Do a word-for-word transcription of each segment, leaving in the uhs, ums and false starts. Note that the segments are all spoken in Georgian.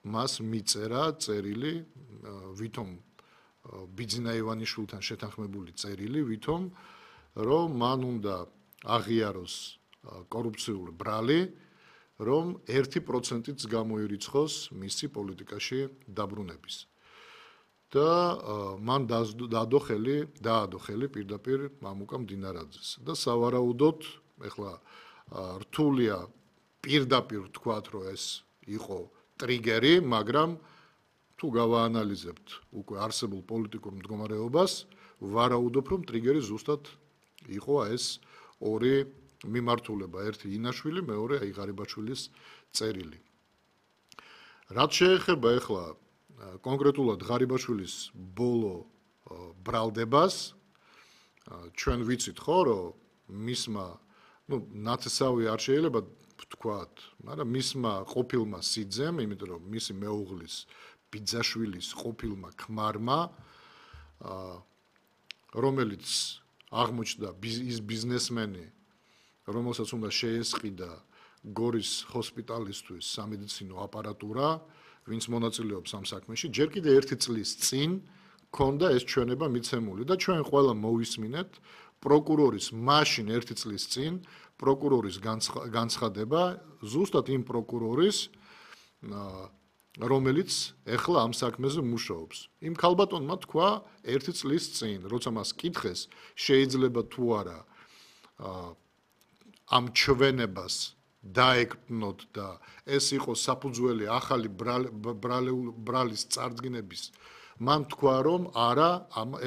მას მიწერა წერილი ვითომ ბიძინა ივანიშვილთან შეთანხმებული წერილი ვითომ რომ მან უნდა აღიაროს კორუფციული ბრალი რომ ერთი პროცენტიც გამოირიცხოს მისი პოლიტიკაში დაბრუნების და მან დადო ხელი დაადო ხელი პირდაპირ მამუკა მდინარაძეს და სავარაუდოდ ეხლა რთულია პირდაპირ თქვათ რომ ეს იყო ტრიგერი მაგრამ თუ გავაანალიზებთ უკვე არსებულ პოლიტიკურ მდგომარეობას ვარაუდობ რომ ტრიგერი ზუსტად იყო ეს ორი მიმართულება ერთი ინაშვილი მეორე აი ღარიბაშვილის წერილი რაც შეეხება ეხლა კონკრეტულად ღარიბაშვილის ბოლო ბრალდებას ჩვენ ვიცით ხო რომ მისმა ну ნათესავი არ შეიძლება ვთქვათ მაგრამ მისმა ყოფილმა სიძემ იმიტომ რომ მისი მეუღლის ბიძაშვილის ყოფილმა ქმარმა რომელიც აღმოჩნდა ის ბიზნესმენი რომელსაც უნდა შეესყიდა გორის ჰოსპიტალისთვის სამედიცინო აპარატურა ვინც მონაწილეობს ამ საქმეში ჯერ კიდე ერთი წლის წინ ქონდა ეს ჩვენება მიცემული და ჩვენ ყველა მოვისმინეთ პროკურორის მაშინ ერთი წლის წინ პროკურორის განცხადება ზუსტად იმ პროკურორის რომელიც ეხლა ამ საქმეზე მუშაობს იმ ქალბატონმა თქვა ერთი წლის წინ როცა მას კითხეს შეიძლება თუ არა ამ ჩვენებას დაეკნოთ და ეს იყო საფუძველი ახალი ბრალის წარდგინების მან თქვა რომ არა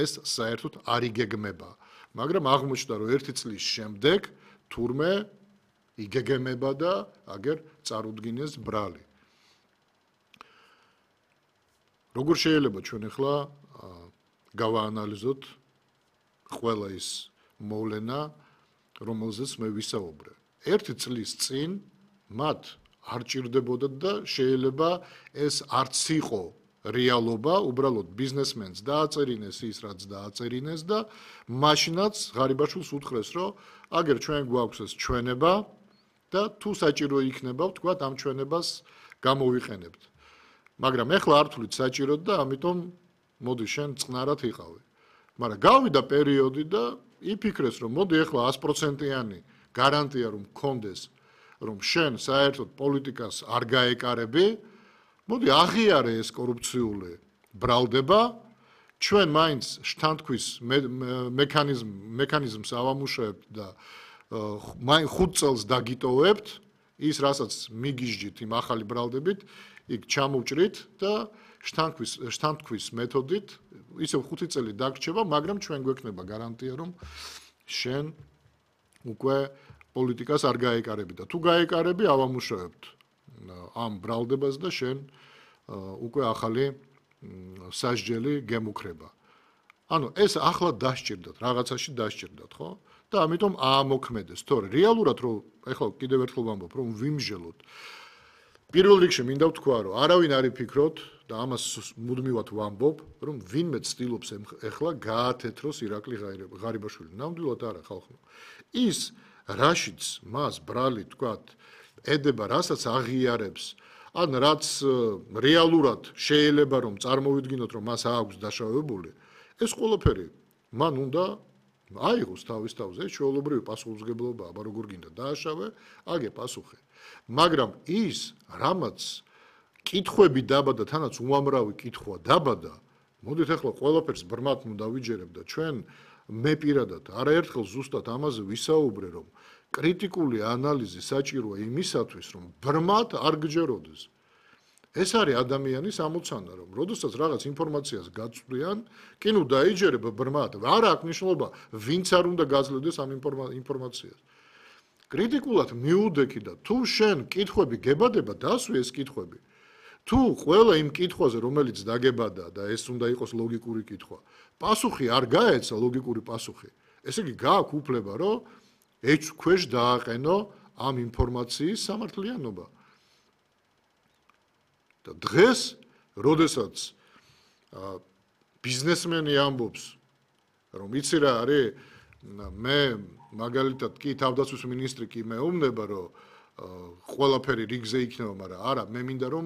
ეს საერთოდ არ იგეგმება მაგრამ აღმოჩნდა რომ ერთი წლის შემდეგ თურმე იგეგმება და აგერ წარუდგინეს ბრალი როგორ შეიძლება ჩვენ ახლა გავაანალიზოთ ყველა ის მოვლენა რომელზეც მე ვისაუბრე ერთი წლის წინ მათ არ ჭირდებოდა და შეიძლება ეს არც იყო რეალობა უბრალოდ ბიზნესმენს დააწერინეს ის რაც დააწერინეს და მაშინაც ღარიბაშვილს უთხრეს რომ აგერ ჩვენ გვაქვს ეს ჩვენება და თუ საჭირო იქნება ვთქვათ ამ ჩვენებას გამოვიყენებთ მაგრამ ეხლა არ თვლით საჭიროდ და ამიტომ მოდი შენ წყნარად იყავი მაგრამ გავიდა პერიოდი და იფიქრეს რომ მოდი ეხლა ას პროცენტიანი გარანტია რომ მქონდეს რომ შენ საერთოდ პოლიტიკას არ გაეკარები მოდი აღიარე ეს კორუფციული ბრალდება ჩვენ მაინც შთანთქვის მექანიზმ მექანიზმს ავამუშავებთ და მაინც ხუთ წელს დაგიტოვებთ ის რასაც მიგიჟდით იმ ახალი ბრალდებით იქ ჩამოვჭრით და შთანთქვის შთანთქვის მეთოდით ისევ ხუთი წელი დაგრჩება მაგრამ ჩვენ გვექნება გარანტია რომ შენ უკვე პოლიტიკას არ გაეკარები და თუ გაეკარები ავამუშავებთ ამ ბრალდებას და შენ უკვე ახალი სასჯელი გემუქრება. ანუ ეს ახლა დასჭირდათ, რაღაცაში დასჭირდათ, ხო? და ამიტომ აამოქმედეს. თორე რეალურად რომ ეხლა კიდევ ერთხელ ვამბობ, რომ ვიმჟელოთ. პირველ რიგში მინდა ვთქვა, რომ არავინ არ იფიქროთ და ამას მუდმივად ვამბობ, რომ ვინმე ცდილობს ეხლა გაათეთროს ირაკლი ღარიბაშვილი. ნამდვილად არა, ხალხო. ის რაშიც მას ბრალი თქვათ ედება, რასაც აღიარებს, ან რაც რეალურად შეიძლება რომ წარმოვიდგინოთ, რომ მას აქვს დაშავებული, ეს ყველაფერი მან უნდა აიღოს თავის თავზე, ჩვეულებრივი პასუხისმგებლობა, აბა როგორ გინდა დააშავე, აგე პასუხი. მაგრამ ის, რამაც კითხვები დაბადა, თანაც უამრავი კითხვა დაბადა, მოდით ახლა ყველაფერს ბრმად დავიჯერებ და ჩვენ მე პირადად არაერთხელ ზუსტად ამაზე ვისაუბრე, რომ კრიტიკული ანალიზი საჭიროა იმისათვის, რომ ბრმად არ გჯეროდეს. ეს არის ადამიანის ამოცანა, რომ როდესაც რაღაც ინფორმაციას გაწვდიან, კი ნუ დაიჯერებ ბრმად, არ აქვს მნიშვნელობა, ვინც არ უნდა გაძლევდეს ამ ინფორმაციას. კრიტიკულად მიუდექი და თუ შენ კითხვები გებადება, დასვი ეს კითხვები. თუ ყველა იმ კითხვაზე, რომელიც დაგებადა და ეს უნდა იყოს ლოგიკური კითხვა, პასუხი არ გაეცა ლოგიკური პასუხი, ესე იგი გააქვს უფლება, რომ ეჭვ ქვეშ დააყენო ამ ინფორმაციის სამართლიანობა. და დღეს, როდესაც ბიზნესმენი ამბობს, რომ იცი რა არის, მე მაგალითად კი თავდაცვის მინისტრი კი მეუბნება, რომ ყველაფერი რიგზე იქნება, მაგრამ არა, მე მინდა რომ